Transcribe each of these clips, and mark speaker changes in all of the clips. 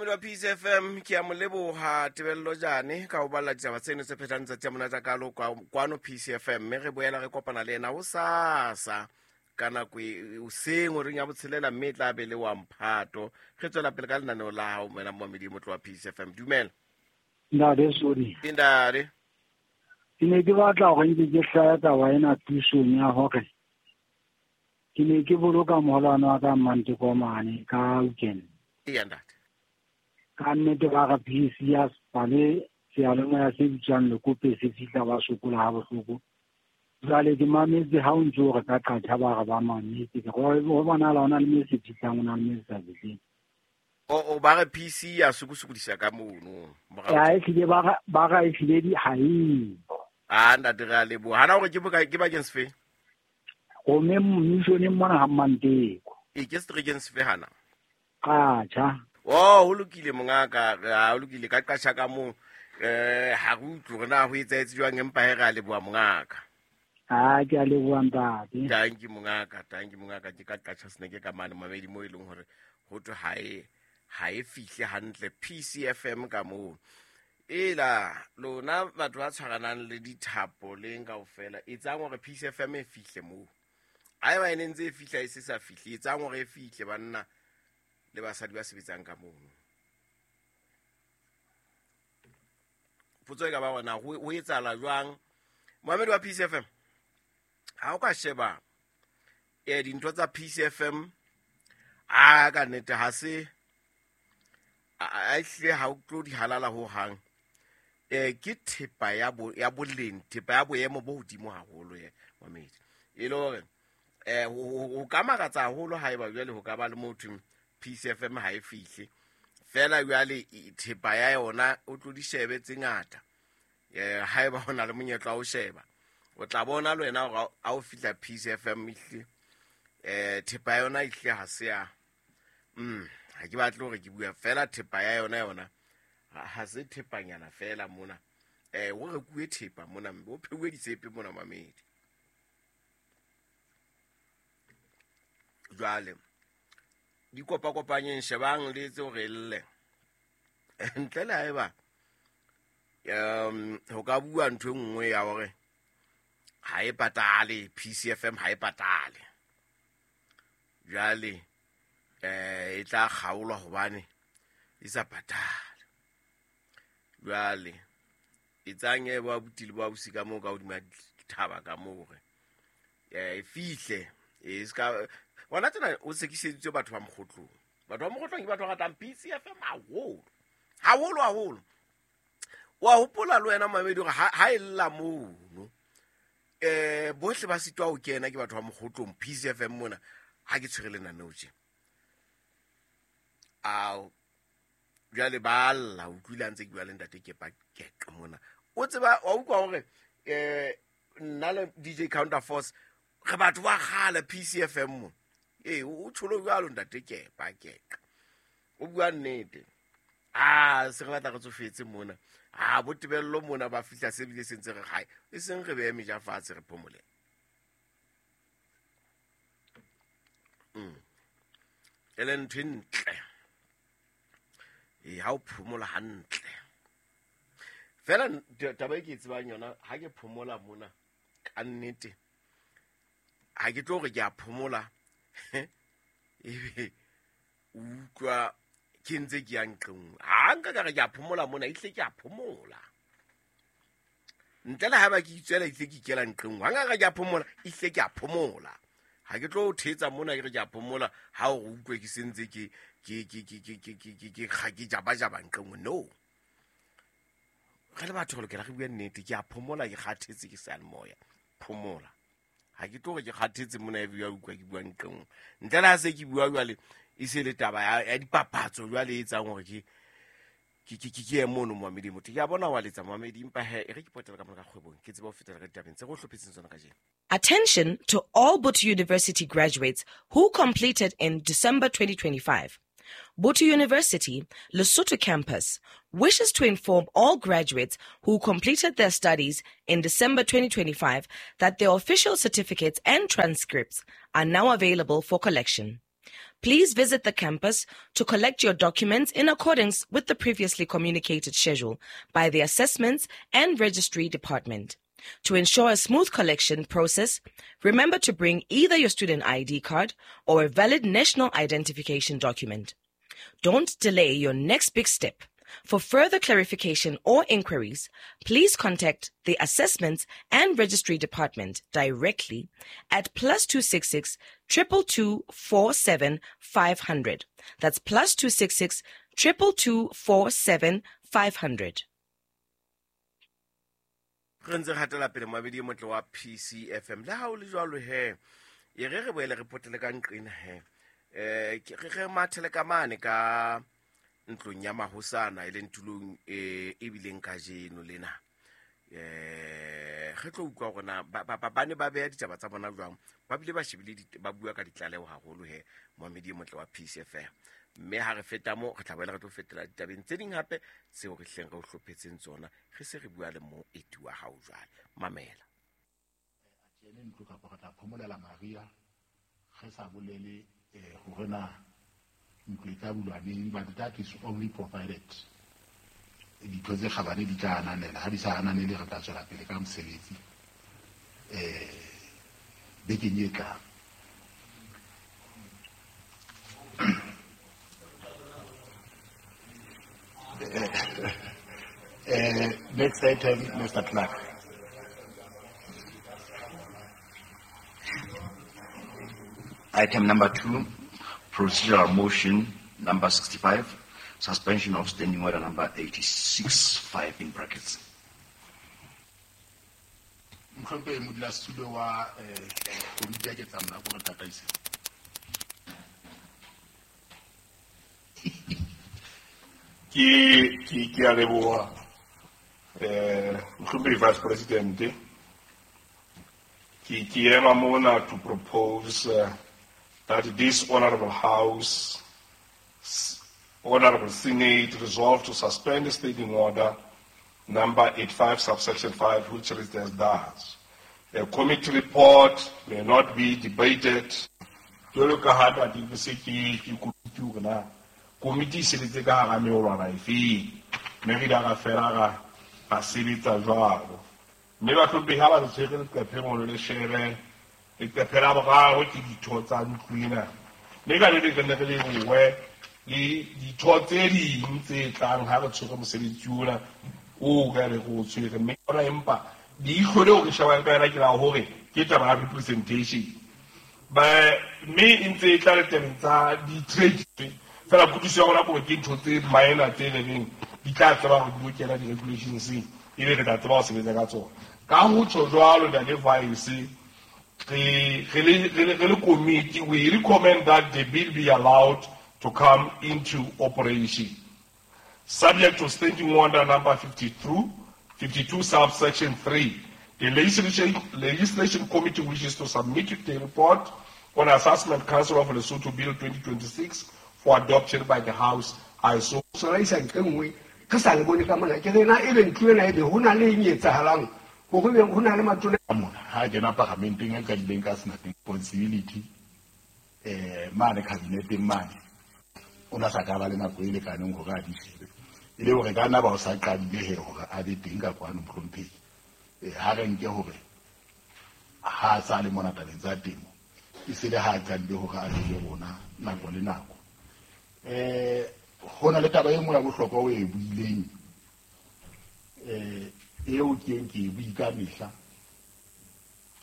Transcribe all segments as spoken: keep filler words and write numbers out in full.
Speaker 1: Moamedi wa P C F M ke a mo leboha Tebello Jane ka ho balla ditaba tseno tse phethang tsatsi a monate kalo kwano P C F M, mme re boela re kopana le ena hosasa ka nako e hoseng horeng ya botshelela, mme e tla be le wa mphato. Re tswela pele ka lenaneo la hao wena moamedi motlo wa P C F M. Dumela.
Speaker 2: Ntate Sodi.
Speaker 1: Ntate.
Speaker 2: Ke ne ke batla hore nke ke hlaya taba ena thusong ya hore ke ne ke boloka moholwane wa ka Mmantekomane ka weekend.
Speaker 1: Eya ntate.
Speaker 2: Ka nnete ba re P C ya Spale seyalemoya se bitswang Lekope se fihla ba sokola ha bohloko. Jwale ke mametse ha o ntso re ka qatjha ba re ba mametse. Ke ho bonahala ho na le me se fihlang, ho na le me se sa fihleng.
Speaker 1: O, o ba re P C ya sokosokodisa ka mono.
Speaker 2: Ya, ehlile ba re, ba re ehlile di ha eyo.
Speaker 1: Ah, ntate re a leboha. Hana hore ke boka, ke bakeng sefe?
Speaker 2: Gomme mmissioneng mona ha Mmanteko.
Speaker 1: E ke seterekeng sefe hana?
Speaker 2: Qatjha.
Speaker 1: Oh, ho lokile mongaka, ha ho lokile ka qatjha ka moo. Eh, ha re utlwe hore na ho etsahetse jwang, empa he re a leboha mongaka.
Speaker 2: Ah, ke a leboha ntate.
Speaker 1: Thank you mongaka, thank you mongaka. Ke ka qatjha seneke ka mane mamedi mo e leng hore ho thwe ha e, ha e fihle hantle P C F M ka moo. Ela lona batho ba tshwaranang le dithapo leng kaofela, etsang hore P C F M e fihle moo. Haeba e ne ntse e fihla e se sa fihle, etsang hore e fihle banna le basadi ba sebetsang ka mono. Potso e ka ba hore na ho, ho etsahala jwang? Moamedi wa P C F M, ha o ka sheba, eh, dintho tsa P C F M, a ka nnete ha se, a, a ehlile ha o tlo di halala ho hang. Eh, ke thepa ya bo, ya boleng, thepa ya boemo bo hodimo haholo, eh, moamedi. E le hore, eh, ho, ho, ho ka makatsa haholo haeba jwale ho ka ba le motho P C F M ha e fihle. Feela jwale thepa ya yona o tlo di shebe tse ngata. Eh, haeba ho na le monyetla wa ho sheba, o tla bona le wena hore ha o fihla P C F M ehlile, eh, thepa ya yona ehlile ha se ya, mm, ha ke batle hore ke bua feela thepa ya yona yona, ha, ha se thepanyana feela mona. Eh, ho rekuwe thepa mona, mme ho pheuwe ditshepe mona mamedi. Jwale di kopakopanyeng, shebang le etse hore e lle. Ntle le haeba, um, ho ka bua ntho e nngwe ya hore ha e patale, P C F M ha e patale. Jwale, eh, e tla kgaolwa hobane e sa patale. Jwale, etsang e ba abuti le ba ausi ka moo ka hodima dithaba ka moo hore, eh, e fihle, e ska, hona tjena o sekiseditswe batho ba Mokgotlong. Batho ba Mokgotlong ke batho ba ratang P C F M haholo. Haholo, haholo. Wa hopola le wena mamedi hore ha, ha e lla mono, eh, bohle ba sitwa ho kena ke batho ba Mokgotlong P C F M mona, ha ke tshwere lenaneo tje. Ao, jwale ba lla, o utlwile ha ntse ke bua le ntate Kepa Keqa mona. O tseba, wa utlwa hore, eh, nna le D J Counterforce re batho ba kgale P C F M mo. Ee, o tsholo jwalo ntate Kepa Keqa. O bua nnete. Ah, se re batla re tsofetse mona. Ah, bo Tebello mona ba fihla se bile se ntse re hae. E seng re behe meja fatshe re phomole. Mm. E le ntho e ntle. Ee, ha o phomola hantle. Feela taba e ke e tsebang yona, ha ke phomola mona, ka nnete, ha ke tlo hore ke a phomola, ebe o utlwa ke ntse ke ya nqe nngwe. Ha nka ka re ke a phomola mona, ehlile ke a phomola. Ntle le haeba ke itswela, ehlile ke ikela nqe nngwe. Ha nka ka re ke a phomola, ehlile ke a phomola. Ha ke tlo thetsa mona ke re ke a phomola, ha o re utlwe ke sentse ke, ke, ke, ke, ke, ke, ke, ke, ke, ke, ke jabajaba nqe nngwe. No. Re le batho re lokela re bue nnete, ke a phomola, ke kgathetse ke seyalemoya. Phomola. Ha ke tlo hore ke kgathetse mona ebe ya utlwa ke bua nqe nngwe. Ntle le ha se ke bua jwale, e se le taba ya, ya dipapatso jwale e etsang hore ke, ke, ke, ke, ke ye mono moamedi motho. Ke a bona wa letsa moamedi, empa he, e re ke potela ka mona ka kgwebong, ke tsebe ho fetela ka ditabeng tse re o hlophetseng tsona kajeno.
Speaker 3: Attention to all Botho University graduates who completed in December twenty twenty-five. Botho University, Lesotho campus, wishes to inform all graduates who completed their studies in December twenty twenty-five that their official certificates and transcripts are now available for collection. Please visit the campus to collect your documents in accordance with the previously communicated schedule by the Assessments and Registry Department. To ensure a smooth collection process, remember to bring either your student I D card or a valid national identification document. Don't delay your next big step. For further clarification or inquiries, please contact the Assessments and Registry Department directly at plus two six six, triple two four seven five hundred. That's plus two six six, triple two four seven five hundred.
Speaker 1: Re ntse re hatela pele moabedi e motle wa P C F M. Le ha o le jwalo he, e re re boele re potele ka nqena he. Eh, ke re re mathele ka mane ka ntlong ya mahosana e leng tulong e e bileng kajeno lena. Eh, re tlo utlwa hore na ba, ba, ba ne ba beha ditaba tsa bona jwang, ba bile ba shebile dit-, ba bua ka ditlaleho haholo he, moamedi e motle wa P C F M. Mme ha re feta moo, re tla boela re tlo fetela ditabeng tse ding hape tseo re hleng re o hlophetseng tsona, re se re bua le moeti wa hao jwale. Mamela.
Speaker 4: A tjene ntlo kapa re tla phomolela Maria, re sa bolele, eh, hore na ntlo e tla bulwa neng, but that is only provided ditho tse kgabane di tla ananela. Ha di sa ananele, re tla tswela pele ka mosebetsi, eh, bekeng e tlang. Eh, next item, Mister Clark.
Speaker 5: Item number two, procedural motion number sixty-five, suspension of standing order number eighty-six five in brackets.
Speaker 4: Mohlomphehi modulasetulo wa, eh, komiti ya ketsamolao ko re tataise.
Speaker 6: Ke, ke, ke a leboha, eh, mohlomphehi Vice President. Ke, ke ema mona to propose, uh, that this honorable House, Honorable Senate, resolve to suspend the standing order number eighty-five, subsection five, which reads as thus. A committee report may not be debated. Jwalo ka ha ntate ke se ke, ke komiti hore na komiti e sebetse ka hara meolwana efeng, mme re ile ra fela ra, ra sebetsa jwalo. Mme bahlomphehi ha ba re tshwere leqephe mono le shebe, leqephe la boraro ke ditho tsa ntlo ena. Mme ka le leng re ne re lebohe le ditho tse ding tse tlang ha re tshwere mosebetsi ona oo ka re re o tshwere. Mme ona empa leihlo leo re shebang ka yona ke la hore ke taba ya representation. Ba, mme e ntse e tla le tabeng tsa di-trade. Fela kutlwisiso ya rona ke hore ke ntho tse minor tse le reng di tla tseba hore di lokela di-regulations, ebe re tla tseba ho sebetsa ka tsona. Ka ho tjho jwalo, Ntate Vice, re, re le, re le, re le committee, we recommend that the bill be allowed to come into operation, subject to standing order number fifty-two, fifty-two subsection three. The legislation, legislation committee wishes to submit the report on Assessment Council of Lesotho Bill twenty twenty-six for adoption by the House. I so
Speaker 7: sona isa ntle nngwe, re sa le bone ka mona. Ke re na ebe ntlo ena ebe ho na le eng e etsahalang, hore ebe ho na le matona
Speaker 4: ka mona. Ha kena paramenteng e qadileng ka sena responsibility, eh, mane kabineteng mane, o na sa ka ba le nako e lekaneng hore a di shebe. E le hore ka nna ba o sa qadile he hore a be teng ka kwano mohlomphehi. Eh, ha re nke hore ha a sa le mona tabeng tsa temo, e se le ha a qadile hore a be le rona nako le nako. Eh, ho na le taba e nngwe ya bohlokwa o e buileng, eh, eo ke eng ke e bui ka mehla.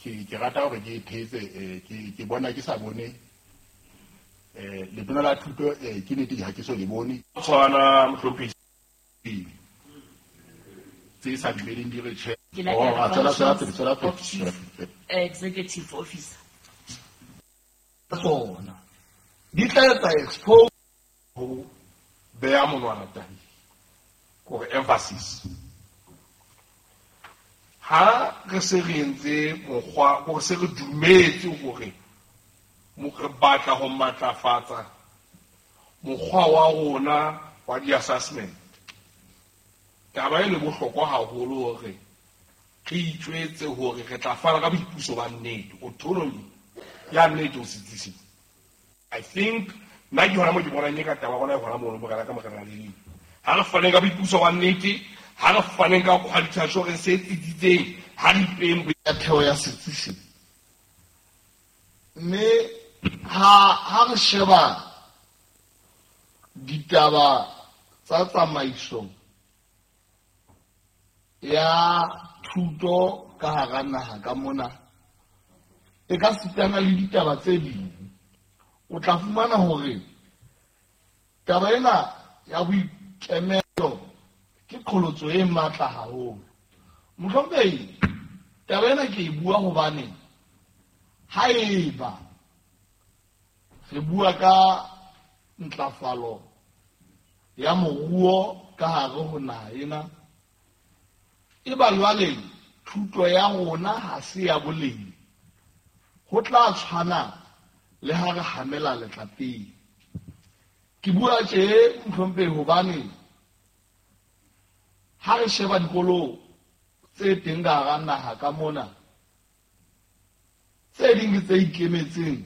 Speaker 4: Ke, ke rata hore ke e thetse, eh, ke, ke bona ke sa bone, eh, letona la thuto, eh, ke nnete ha ke so le bone.
Speaker 6: Tshwana mohlomphehi.
Speaker 4: Tse sa dumeleng di re tjhe.
Speaker 8: Ke la
Speaker 4: Oh,
Speaker 8: ke
Speaker 4: a tswela, tswela pele, tswela pele,
Speaker 8: of Chief
Speaker 4: tswela pele.
Speaker 8: Executive Officer.
Speaker 7: Tsona di tla etsa expose
Speaker 6: ho beha monwana tabeng, kore emphasis. Ha re se re entse mokgwa, hore se re dumetse hore mo re batla ho matlafatsa mokgwa wa rona wa di-assessment. Taba e le bohlokwa haholo hore re itjwetse hore re tla fana ka boipuso ba nnete, autonomy ya nnete ho setsi. I think Nna ke hona mo ke bonang e ka taba gona e gona mono morena ka morena le ha re faneng ka boipuso wa nnete, ha re faneng ka quality assurance e tsitsitseng, ha re ipeng
Speaker 9: ya theo ya setsi se. Mme ha ha re sheba ditaba tsa tsamaiso ya thuto ka hara naha ka mona, e ka sitana le ditaba tse ding. O tla fumana hore taba ena ya boikemelo ke qholotso e matla haholo. Mohlomphehi, taba ena ke e bua hobane haeba re bua ka ntlafalo ya moruo ka hare ho naha ena, e ba jwale thuto ya rona ha se ya boleng, ho tla tshwana le ha re hamela letlapeng. Ke bua tje mohlomphehi hobane ha re sheba dikolo tse teng ka hara naha ka mona, tse ding ke tse ikemetseng,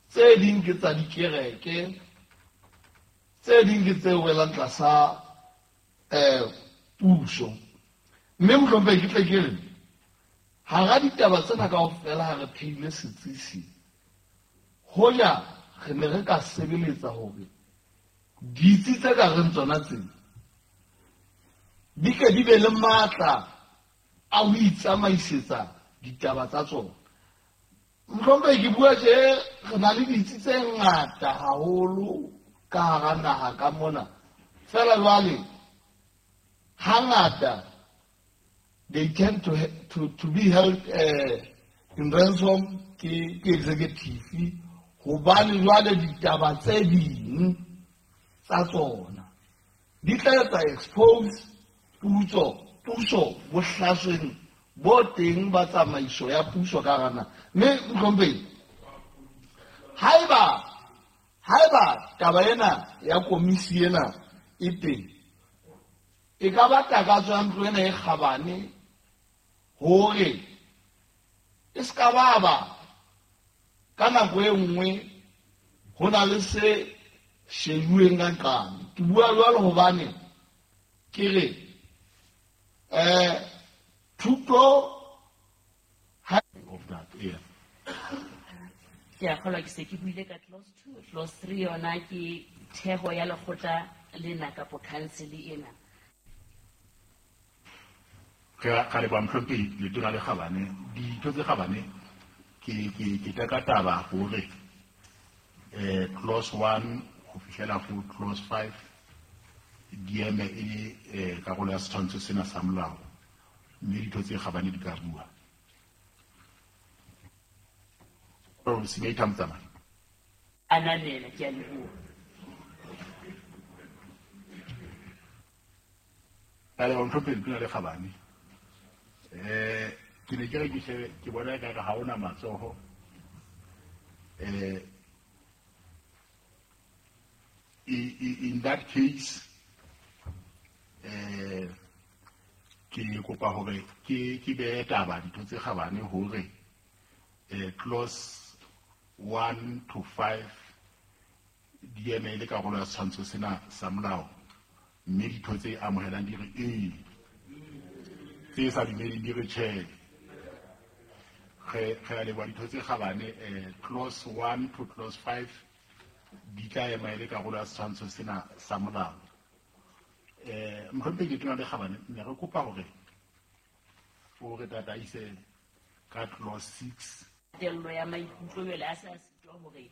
Speaker 9: tse ding ke tsa dikereke, tse ding ke tse welang tlasa eh puso. Mme mohlomphehi ke tle ke re hara ditaba tsena kaofela ha re pheile setsi, hoja re ne re ka sebeletsa hore ditsi tse ka reng tsona tsena di ke di be le matla a ho itsamaisetsa ditaba tsa tsona. Mohlomphehi ke bua tje re na le ditsi tse ngata haholo ka hara naha ka mona, fela jwale hangata they tend to, to, to be held uh, in ransom ke, ke executive, hobane jwale ditaba tse ding tsa tsona di tla etsa expose puso puso bohlasweng bo teng ba tsamaiso ya puso ka hara naha. Mme mohlomphehi, haeba haeba taba ena ya komisi ena e teng, e ka ba takatso ya ntlo ena e kgabane hore e se ka ba ba ka nako e nngwe ho na le se shejuweng ka nqane. Ke bua jwalo hobane ke re eh thuto
Speaker 4: of that, yeah.
Speaker 8: Ke a kgolwa ke se ke buile ka clause two, clause three yona ke theho ya lekgotla lena kapo council ena.
Speaker 4: Re ka leboha mohlomphehi Letona le Kgabane. Ditho tse kgabane ke ke ke teka taba hore eh clause one ho fihlela ho clause five di eme e le eh karolo ya setshwantsho sena sa molao, mme ditho tse kgabane di ka bua. Oh, Senator Motsamai.
Speaker 8: Ananela, ke a leboha.
Speaker 4: Ka leboha mohlomphehi Letona le Kgabane. Eh ke ne ke re ke shebe ke bona ekare ha hona matsoho. Eh in that case eh ke kopa hore ke ke behe taba ditho tse kgabane hore eh clause one to five di eme le karolo ya setshwantsho sena sa molao, mme ditho tse amohelang di re ee, tse sa dumeleng di re tjhe. Re re a leboha ditho tse kgabane. Eh clause one to clause five di tla ema e le karolo ya setshwantsho sena sa molao. Eh mohlomphehi Letona le Kgabane, ne re kopa hore o re tataise ka clause six.
Speaker 8: Tello ya maikutlo jwale a sa sitwa hore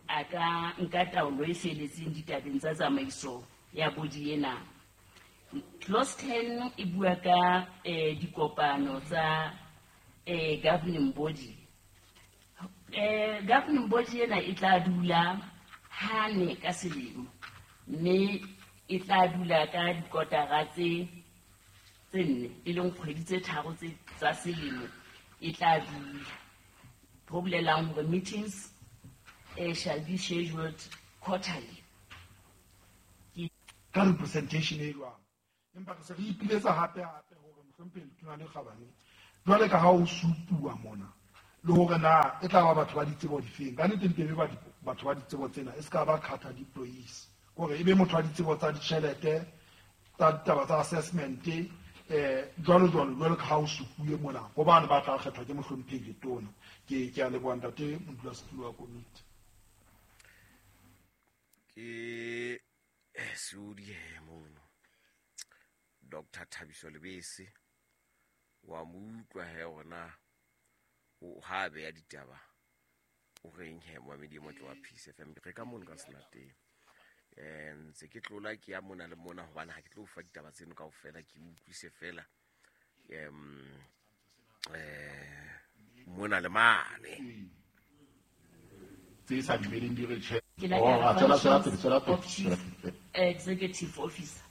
Speaker 8: a ka nka taolo e feletseng ditabeng tsa tsamaiso ya body ena. Clause ten e bua ka eh dikopano tsa eh governing body. Eh governing body ena e tla dula hane ka selemo, mme e tla dula ka dikotara tse tse nne, e leng kgwedi tse tharo tse tsa selemo e tla dula. Ho bolelang hore meetings eh shall be scheduled quarterly.
Speaker 10: Ka representation e jwang, empa re se re ipiletsa hape hape hore mohlomphehi Letona le Kgabane, jwale ka ha o supuwa mona Le hore na e tla ba batho ba ditsebo difeng. Ka nnete ntebe ba batho ba ditsebo tsena e ska ba cadre deployees. Hore ebe motho wa ditsebo tsa ditjhelete, tsa ditaba tsa assessment, eh jwalo jwalo jwalo ka ha o supuwe mona. Hobane ba tla kgethwa ke mohlomphehi Letona. Ke ke a leboha ntate modulasetulo wa komiti.
Speaker 1: Ke Seodi he mono. Doctor Thabiso Lebese wa mo utlwa he ona o ha be ya ditaba o reng he moamedi motle wa Peace F M re ka mono ka Senateng. Eh ntse ke tlola ke ya mona le mona hobane ha ke tlo fa ditaba tseno kaofela ke utlwise fela em eh mona le mane
Speaker 4: tse sa dumeleng di re tjhe.
Speaker 8: Ke la
Speaker 4: Oh, a tswela tswela pele, tswela pele, tswela pele.
Speaker 8: Executive officer.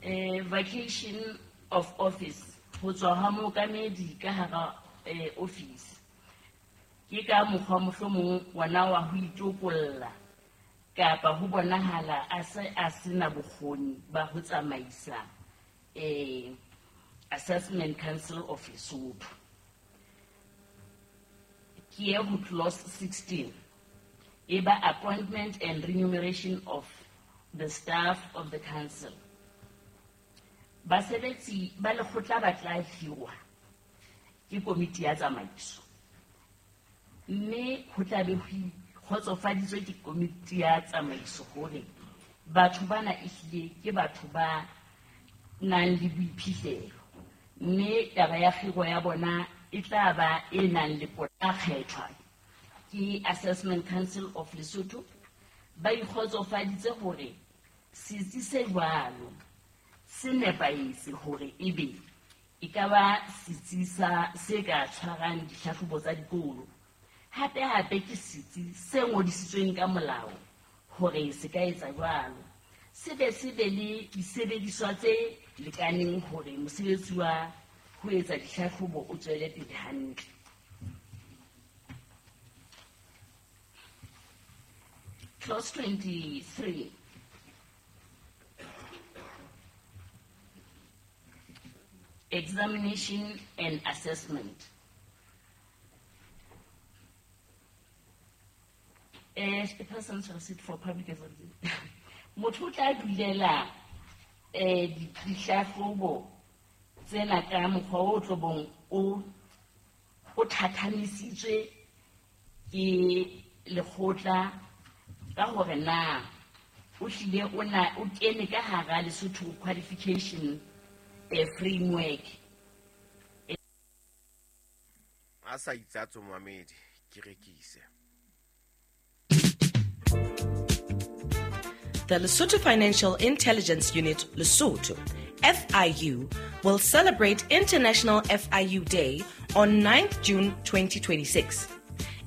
Speaker 8: Eh, vacation of office ho tswa ha mookamedi ka hara eh, office. Ke ka mokgwa mohlomong wona wa ho itokolla kapa ho bonahala a se a sena bokgoni ba ho tsamaisa eh, Assessment Council of Lesotho. Ke ye ho clause sixteen e ba appointment and remuneration of the staff of the council. Basebetsi ba lekgotla ba tla hirwa ke komiti ya tsamaiso, mme ho tla be ho kgotsofaditswe ke komiti ya tsamaiso hore batho bana ehlile ke batho ba nang le boiphihlelo, mme taba ya kgiro ya bona e tla ba e nang le pota kgethwa ke Assessment Council of Lesotho. Ba ikgotsofaditse hore setsi se jwalo se nepahetse hore ebe e ka ba setsi sa se ka tshwarang dihlahlobo tsa dikolo. Hape hape ke setsi se ngodisitsweng ka molao hore se ka etsa jwalo. Se be se be le disebediswa tse lekaneng hore mosebetsi wa ho etsa dihlahlobo o tswele pele hantle. Clause twenty-three. Examination and assessment. Eh, the person shall sit for public examination. Motho o tla dulela eh dihlahlobo tsena ka mokgwa o tlobong o o thathamisitswe ke lekgotla ka hore na o hlile o na o kene ka hara Lesotho qualification eh, framework.
Speaker 1: A sa itsatso moamedi ke rekise.
Speaker 3: The Lesotho Financial Intelligence Unit, Lesotho, F I U, will celebrate International F I U Day on ninth June twenty twenty-six.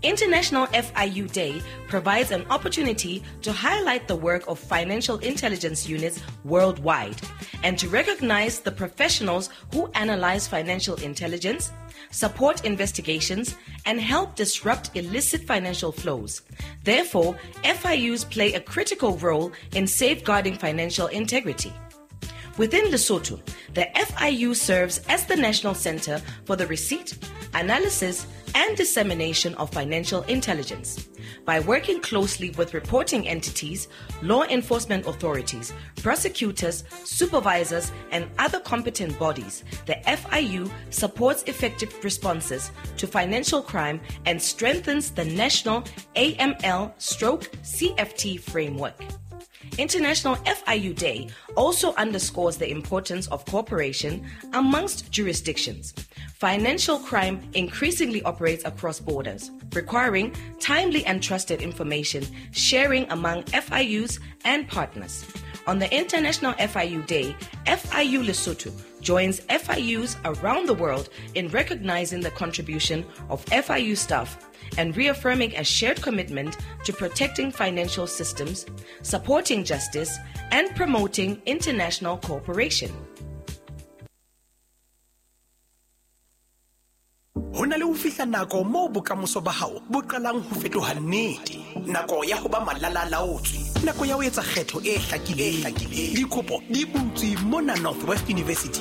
Speaker 3: International F I U Day provides an opportunity to highlight the work of financial intelligence units worldwide and to recognize the professionals who analyze financial intelligence, support investigations, and help disrupt illicit financial flows. Therefore, F I Us play a critical role in safeguarding financial integrity. Within Lesotho, the F I U serves as the national center for the receipt, analysis, and dissemination of financial intelligence. By working closely with reporting entities, law enforcement authorities, prosecutors, supervisors, and other competent bodies, the F I U supports effective responses to financial crime and strengthens the national A M L stroke C F T framework. International F I U Day also underscores the importance of cooperation amongst jurisdictions. Financial crime increasingly operates across borders, requiring timely and trusted information sharing among F I Us and partners. On the International F I U Day, F I U Lesotho joins F I Us around the world in recognizing the contribution of F I U staff and reaffirming a shared commitment to protecting financial systems, supporting justice, and promoting international cooperation.
Speaker 11: Ho na le ho fihla nako moo bokamoso ba hao bo qalang ho fetoha nnete. Nako ya ho ba malalalaotswe, nako ya ho etsa kgetho e hlakileng. Dikopo di butswe mona Northwest University.